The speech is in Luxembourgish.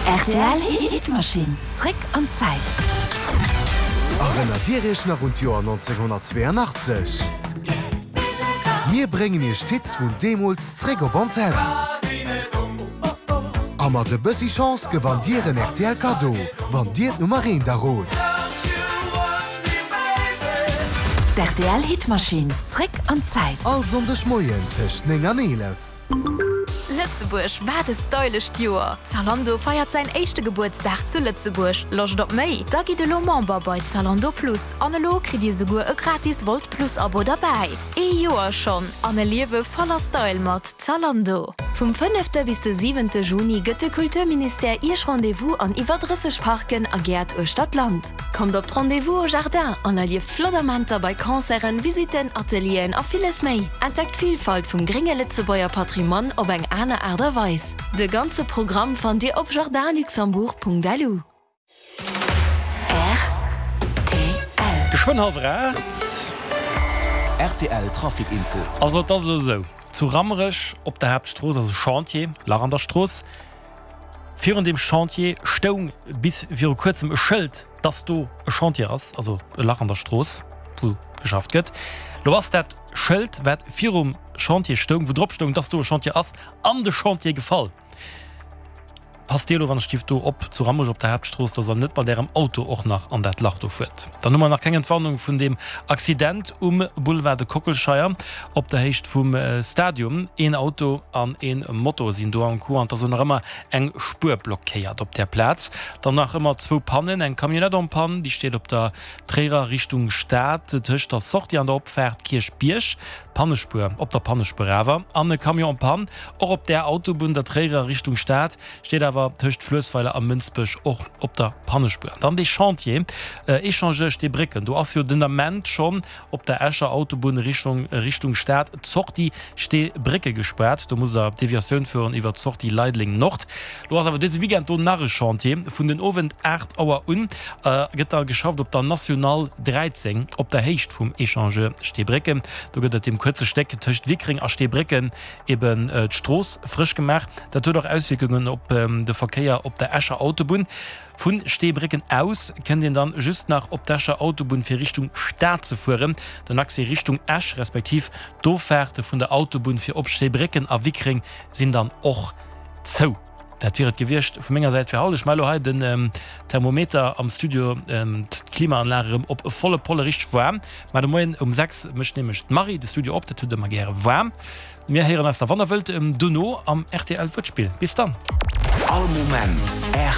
Rtl Hitmaschinn, zréck an d'Zäit. Erënnert Dir Iech nach un d'Joer 1982? Mir bréngen Iech d'Hits vun deemools zréck op Antenn. A mat e bëssi Chance gewannt Dir en rtl Kaddo, wann Dir d'Nummer eent errot. D'RTL Hitmaschinn, zréck an d'Zäit. All Sonndeg Moien tëscht 9 an 11. Lëtzebuerg, wat e stylescht Joer! Zalando feiert säin éischte Gebuertsdag zu Lëtzebuerg. Loscht op méi? Da gitt elo Member bei Zalando Plus an elo kritt dir souguer e gratis Wolt Plus Abo derbäi. Ee Joer schonn an e Liewe voller Style mat Zalando! Vum fënnefte bis de siwente Juni gëtt de Kulturministère Iech Rendez-vous an iwwer 30 Parken a Gäert uechter d'Land. Kommt op d'Rendez-vous au Jardin an erlieft flott Amenter bei Concerten, Visitten, Atelieren a villes méi. Entdeckt d'Villfalt vum grénge Lëtzebuerger Patrimoine op eng aner Aart a Weis. De ganze Programm fannt Dir op jardinluxembourg.lu. Rtl. Geschwënn hallwer 8. Rtl Trafic Info. Also et ass elo esou, zu Rammerech op der Haaptstrooss ass e Chantier, Lach an der Strooss. Virun deem Chantier stoung bis viru kuerzem e Schëld, dass do e Chantier ass, also e Lach an der Strooss, wou geschafft gëtt. Lo ass dat Schëld, wat virum Chantier stoung, wou drop stoung, dass do e Chantier ass, an de Chantier gefall. Passt Dir elo wann ech giff do op zu Rammerech op der Haaptstrooss, dass der net mat Ärem Auto och nach an dat Lach do fuert. Dann hu mer nach keng Entwarnung vun deem Accident um Boulevard de Kockelscheier op der Héicht vum Stadium. Een Auto an een Moto sinn do am Coup an et ass och nach ëmmer eng Spuer blockéiert op där Plaz. Dann nach ëmmer zwou Pannen, eng Camionnette en panne, déi steet op der Tréierer Richtung Stad tëscht der Sortie an der Opfaart Kierchbierg, Pannespuer, op der Pannespuer awer, an e Camion en panne och op där Autobunn der Tréierer Richtung Stad, steet awer tëscht Fluessweiler a Mënsbech och op der Pannespuer. An dann dee Chantier Echangeur Steebrécken, do ass jo den Ament schonn op der Escher Autobunn Richtung Richtung Stad d'Sortie Steebrécke gespaart. Do musst der Deviatioun fueren iwwer d'Sortie Leideleng Nord. Lo ass awer dëse Weekend do nach e Chantier. Vun den Owend 8 Auer un gëtt da geschafft op der National 13 op der Héicht vum Echangeur Steebrécken. Do gëtt op deem kuerze Stéck tëscht Wickreng a Steebrécken eben d'Strooss frësch gemaach. Dat huet och Auswierkungen op de Verkéier op der Escher Autobunn. Vu Steebrécken aus kënnt een dann just nach op d'Escher Autobunn fir Richtung Stad ze fueren. Den Accès Richtung Esch respektiv d'Offaarte vun der Autobunn fir op Steebrécken a Wickreng sinn dann och zou. Dat wier et gewiescht vu menger Säit fir haut. Ech maache lo hei den Thermometer am Studio, d'Klimaanlag erëm op volle Polle richteg waarm. Mä de Moien um 6 mécht nämlech d'Marie de Studio op, dat huet ëmmer gäre waarm. Mir héieren eis da wann der wëllt dono am rtl Wuertspill. Bis dann! All Moment rtl.